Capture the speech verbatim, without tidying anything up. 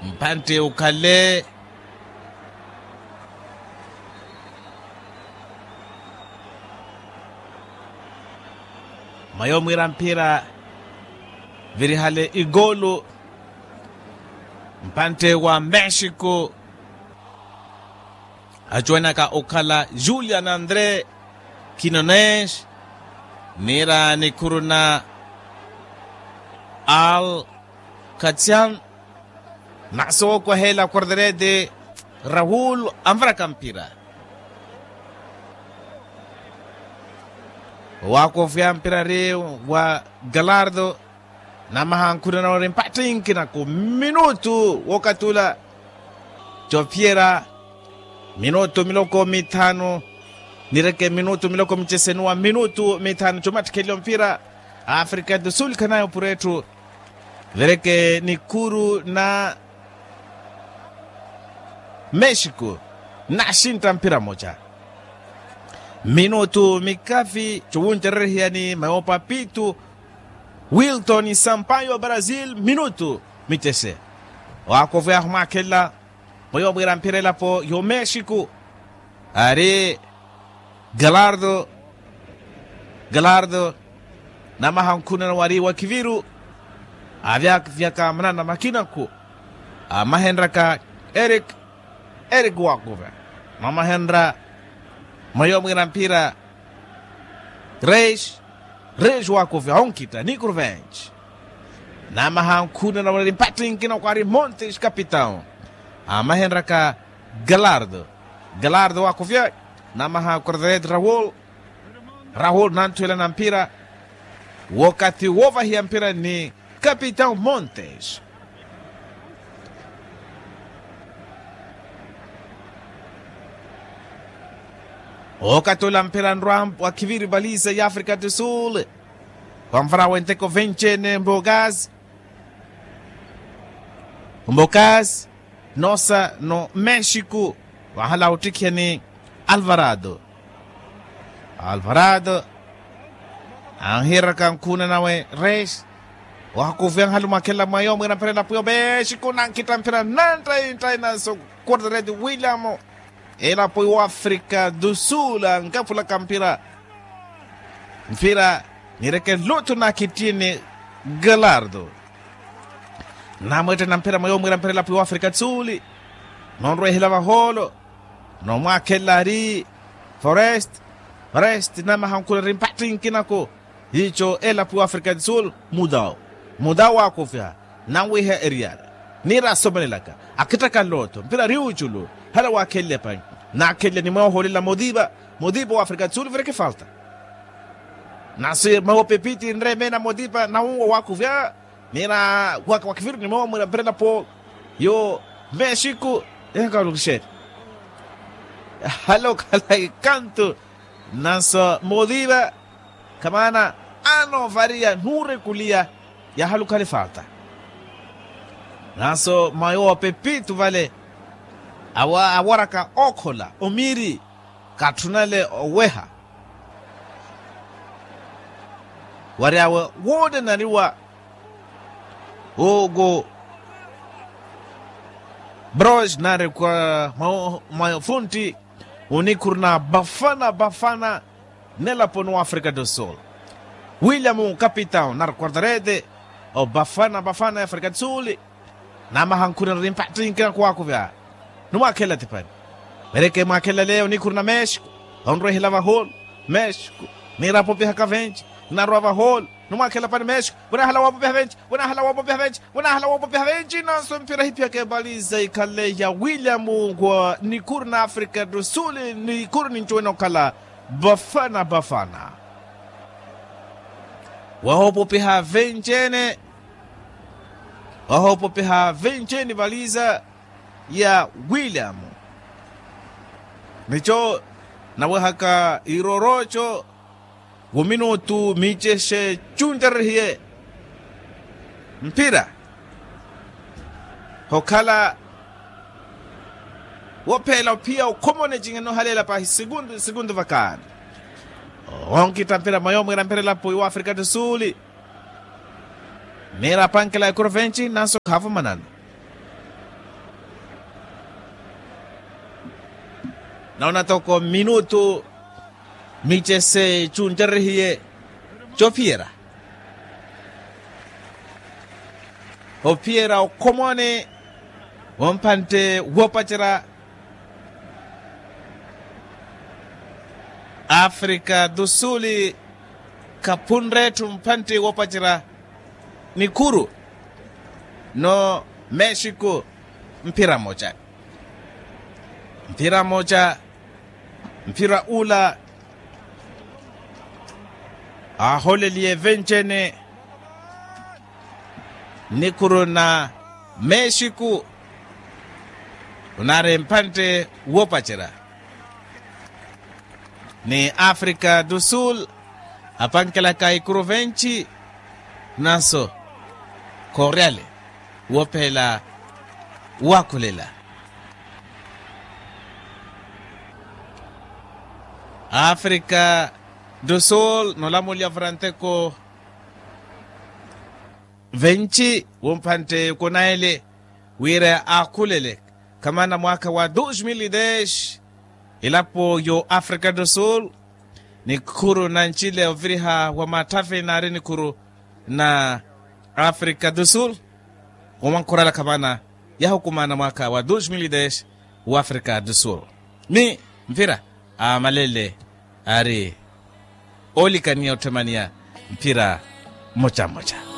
Mpantte ukhale. Mayo mwiira mphira virihale igolu. Mpantte wa mexico acuwenaka okhala julian andre kinones niira nikhuru na al katsian. Nasooko aheela quarterete raul anvaraka mpira. Owaakofiya mpira ari wa galardo. Namaha nkhunana wari mpattinkinaku minutu wokatula. Copiera minutu miloko mithanu. Nireke minutu miloko micesenuwa minutu mithanu comattikheliyo mpira. Afrika do sul khanayo pura etthu. Vereke nikhuru na mexico naxintta mpira moca. Minutu mikafi cowuncererihiyani mayopa pitu. Wilton sampayo brazil minutu mitese. Waakovo yahu mwakhella. Mweyo mwiira mphira elapo yo mexico ari galardo. Galardo namaha nkhunana wari wa kiviru. Avyavyaka manana makinaku amahenraka erik. Erik wakuve mamahenra. Mweyo mwiira mphira reis. Reis wakuve onkita nikurvenci. Namaha nkhunana wari mpattinkina kwari montes capitão. Amahenraka galardo. Galardo wakuvya. Namaha quarterete raul. Raul nanthuwela na mphira. Wokathi wovahiya mphira ni capitão montes. Wokathi ola mphira nrwa wa khiviri valisa ya afrika do sul. Vanvara wenteko vencene mbokas. Mbokas nosa no mexico. Vahala ottikheni alvarado. Alvarado anhiraka nkhuna nawe reis. Wahakuviya nhalu mwakhela mwayo mwira mphira elapo yo mexico nankhitta mphira nanttayi nttayi nanso. Quarterete william. Elapo yo afrika do sul ankapulaka mphira. Mphira nireke lutu na kitini. Galardo namwetthena mphira mweyo mwira mphira elapo yo afrika tsuli. Nonrwehela vahoolo nomwakhella ari forest. Forest namaha nkhuna ri mpattinkinaku. Ico elapo yo afrika tsuli. Mudau mudau wakuviha nanwiha eriyala. Nira asomelelaka akhittaka nlotho mphira ri uculu. Hala wakhelle pani nakhelle ni mweyo ohoolela modiva. Modiva wa afrika tsuli vireke falta. Nasi mawo pepiti nre mena modipa na unwo wakuvya. Nina waka wakiviru ni mawo mwira mperela po yo mexico. Enkalukixeri halo khala ikantu. Nanso modipa kamaana ano varia nurekulia. Yahalukhali falta nanso mayo pepito vale. Awaraka okhola omiri katthunale oweha. Wari awe woonanariwa hugo bros nari kwa mafuntti onikhuruna bafana bafana. Nelaponi wa afrika do sul william kapitao nari quartarete o bafana bafana ya afrika do sul. Namaha nkhuna nari mpattinkina kuwakuvya. Numwakhela tipani. Mereke mwakhela leyo nikhuru na mexico onrwehela vaholo mexico. Nirapo pihaka venci narwa vaholo. Numwakhela pani mexico vunahala wapo piha venci vunahala wapo piha venci vunahala wapo piha venci nanso mpira hipihaka ebaliza ikhale ya william wa nikhuru na afrika do sul. Nikhuru nincuwene okhala bafana bafana. Wahopopiha venci ene wahopopiha venci ene valiza ya william. Nico nawehaka iroroco wo minutu micexe cunterehiye mpira hokhala wopheela ophiya okhomone cinheno haleela pahi segundu segundu vakani. Onkita mpira mayo mwira mpira elapo iwa afrika do sul. Mira apankela ekuru venci nanso khaavumanana. Noona toko minutu mice se cuncerehiye cophiyera ophiyera okhomoni. Wompantte woopacerya afrika do sul khaphunre etthu mpantte woopacerya nikhuru no mexico. Mphira moca mphira moca mphira ula aaholeliye venci-ene nikhuru na mexico. Onaari mpantte woopacerya ni afrika do sul apankelaka ikuru venci nanso khooryale woophela waakhulela afrika do sul noolamuliya vuranteko venci wompantte kunayele wira aakhulele khamana mwaakha wa dos mil e des ilapo yo afrika do sul nikhuru na ncile oviriha wa matthavi naari nikhuru na afrika do sul. Womwankhurala khamana yahukumana mwaakha wa dos mil e des wa afrika do sul ni mphira aamalele aari oolikaniya otthemaniya mphira mmoca mmoca.